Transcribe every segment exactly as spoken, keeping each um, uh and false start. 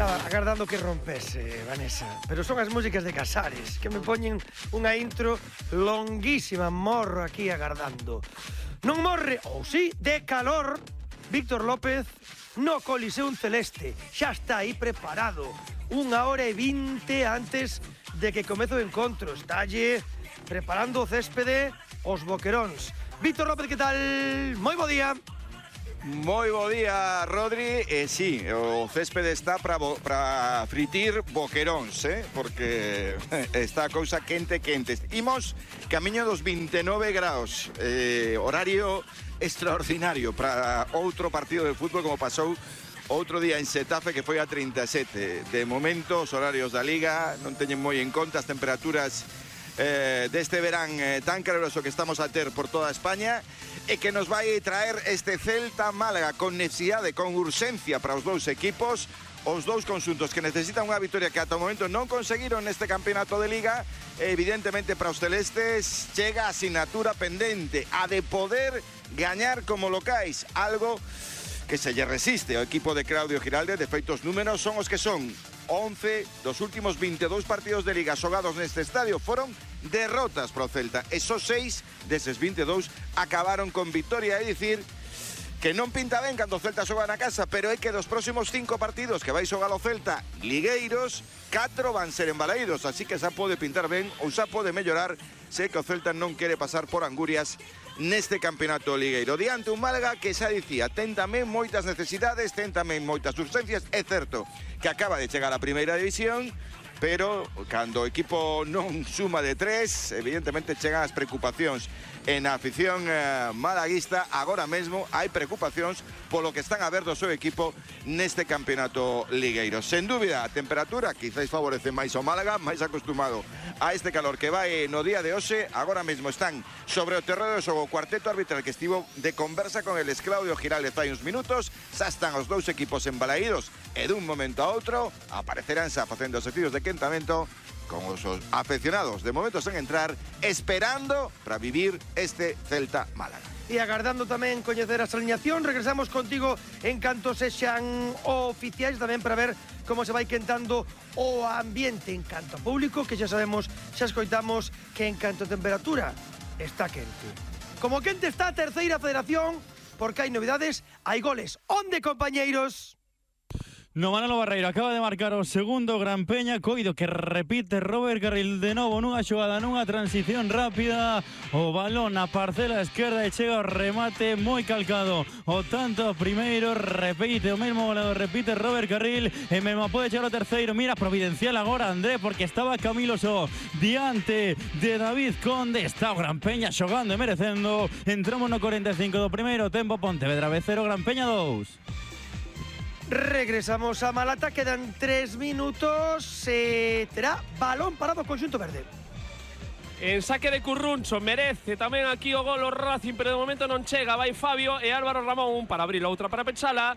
Estaba agardando que rompese, Vanessa, pero son as músicas de Casares que me poñen unha intro longuísima. Morro aquí agardando. Non morre, ou sí, de calor. Víctor López no Coliseum Celeste. Xa está aí preparado. Unha hora e vinte antes de que comece o encontro. Estalle preparando o céspede os boqueróns. Víctor López, que tal? Moi bo día. Moi bo día, Rodri. E eh, sí, o céspede está para fritir boqueróns, eh? Porque está a cousa quente, quente. Imos camiño dos vinte e nove graus, eh, horario extraordinario para outro partido de fútbol como pasou outro día en Xetafe, que foi a trinta e sete. De momento, os horarios da Liga non teñen moi en conta as temperaturas eh, deste verán eh, tan caluroso que estamos a ter por toda España, e que nos vai traer este Celta Málaga con necesidade, con urxencia para os dous equipos, os dous conxuntos que necesitan unha victoria que ata o momento non conseguiron neste campeonato de Liga. Evidentemente para os celestes chega a asignatura pendente, a de poder gañar como locais, algo que se lle resiste ao equipo de Claudio Giralde. De feito, os números son os que son. once dos últimos vinte e dous partidos de Liga xogados neste estadio foron derrotas pro Celta. Esos seis deses vinte e dous acabaron con victoria, é dicir que non pinta ben cando o Celta xoga na casa, pero é que dos próximos cinco partidos que vai xogar o Celta ligueiros, catro van ser en Balaídos, así que xa pode pintar ben ou xa pode mellorar se que o Celta non quere pasar por angurias neste campeonato ligueiro. Diante un Málaga que xa dicía, ten tamén moitas necesidades, ten tamén moitas urgencias. É certo que acaba de chegar a primeira división, pero cando o equipo non suma de tres, evidentemente chegan as preocupacións. En a afición eh, malaguista agora mesmo hai preocupacións polo que están a ver do seu equipo neste campeonato ligueiro. Sen dúbida, a temperatura quizáis favorece máis ao Málaga, máis acostumado a este calor que vai no día de hoxe. Agora mesmo están sobre o terreo de xogo o cuarteto arbitral que estivo de conversa con el Claudio Giralde fai uns minutos. Xa están os dous equipos embalaídos e dun momento a outro aparecerán xa facendo os exercicios de quentamento con os aficionados de momento sen entrar, esperando para vivir este Celta Málaga. E agardando tamén coñecer a alineación. Regresamos contigo en canto sexan oficiais, tamén para ver como se vai quentando o ambiente en canto a público, que xa sabemos, xa escoitamos que en canto a temperatura está quente. Como quente está a terceira federación, porque hai novidades, hai goles. Onde, compañeiros? No, Manolo Barreiro acaba de marcar o segundo Gran Peña, coido que repite Robert Carril de novo nunha xogada, nunha transición rápida, o balón a parcela esquerda e chega o remate moi calcado. O tanto primeiro, repite o mesmo goleador, repite Robert Carril, e mesmo pode chegar o terceiro. Mira, providencial agora André, porque estaba Camilo Só diante de David Conde. Está o Gran Peña xogando e merecendo. Entramos no cuarenta e cinco do primeiro tempo. Pontevedra B cero, Gran Peña dous. Regresamos a Malata, quedan tres minutos, e terá balón parado o conxunto verde. En saque de Curruncho, merece tamén aquí o gol o Racing, pero de momento non chega. Vai Fabio e Álvaro Ramón para abrir a outra para pechala.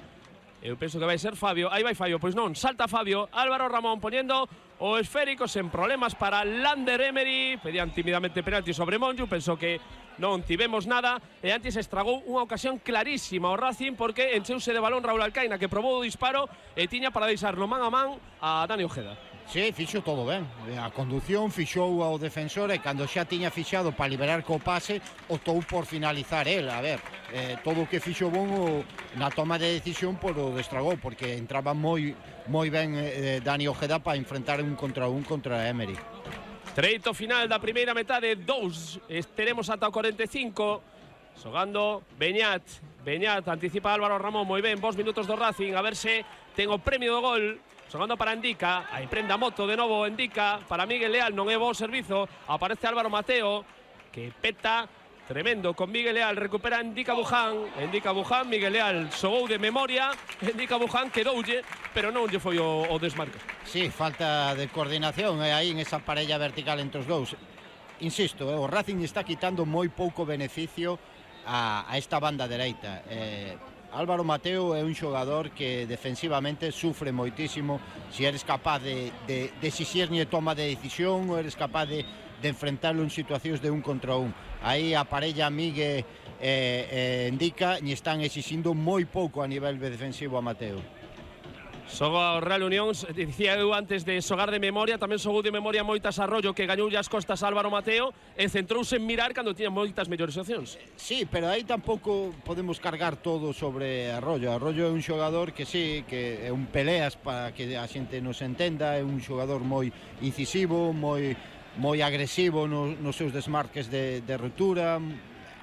Eu penso que vai ser Fabio, aí vai Fabio, pois non, salta Fabio, Álvaro Ramón poñendo o esférico sen problemas para Lander Emery. Pedían tímidamente penalti sobre Monju, pensou que non tivemos nada, e antes estragou unha ocasión clarísima o Racing, porque encheuse de balón Raúl Alcaina, que probou o disparo e tiña para deixarlo man a man a Dani Ojeda. Sí, fixo todo ben. A conducción fixou ao defensor, e cando xa tiña fixado para liberar co pase, optou por finalizar el. A ver, eh, todo o que fixo bon o, na toma de decisión, por o destragou, porque entraba moi moi ben eh, Dani Ojeda para enfrentar un contra un contra Emery. Treito final da primeira metade, dous, estaremos ata o cuarenta e cinco. Xogando Beñat, Beñat anticipa Álvaro Ramón, moi ben, vos minutos do Racing, a ver se ten o premio do gol. Xogando para Endica, aí prenda moto de novo Endica, para Miguel Leal, non é bo servizo, aparece Álvaro Mateo, que peta, tremendo, con Miguel Leal, recupera Endica Buján, Endica Buján, Miguel Leal xogou de memoria, Endica Buján quedoulle, pero non lle foi o, o desmarque. Sí, falta de coordinación eh, aí en esa parella vertical entre os dous. Insisto, eh, o Racing está quitando moi pouco beneficio a, a esta banda dereita. Eh, Álvaro Mateo é un xogador que defensivamente sufre moitísimo. Se eres capaz de, de, de exixirlle toma de decisión, ou eres capaz de, de enfrentarlo en situacións de un contra un. Aí a parella Migue e eh, eh, Endica lle están exixindo moi pouco a nivel defensivo a Mateo. Xoga o Real Unión, dicía eu antes de xogar de memoria, tamén xogou de memoria moitas Arroyo, que gañou as costas a Álvaro Mateo, e centrouse en mirar cando tiña moitas mellores opcións. Sí, pero aí tampouco podemos cargar todo sobre Arroyo. Arroyo é un xogador que sí, que é un peleas para que a xente nos entenda, é un xogador moi incisivo, moi moi agresivo nos, nos seus desmarques de, de ruptura,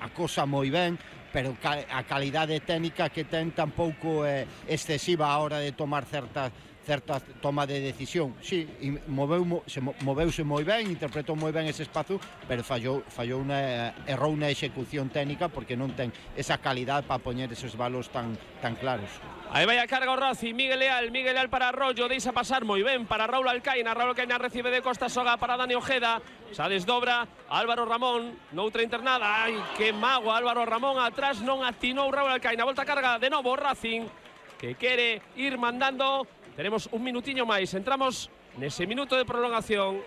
acosa moi ben, pero a calidade técnica que ten tampouco é excesiva a hora de tomar certas certa toma de decisión. Sí, moveu, se moveuse moi ben, interpretou moi ben ese espazo, pero fallou, fallou una, errou na execución técnica porque non ten esa calidad para poñer esos balos tan, tan claros. Aí vai a carga o Racing, Miguel Leal, Miguel Leal para Arroyo, deixa pasar moi ben para Raúl Alcaina, Raúl Alcaina recibe de costa, xoga para Dani Ojeda, xa desdobra Álvaro Ramón, noutra internada, ai, que mago Álvaro Ramón, atrás non atinou Raúl Alcaina, volta a carga de novo o Racing, que quere ir mandando, tenemos un minutiño máis, entramos nese minuto de prolongación,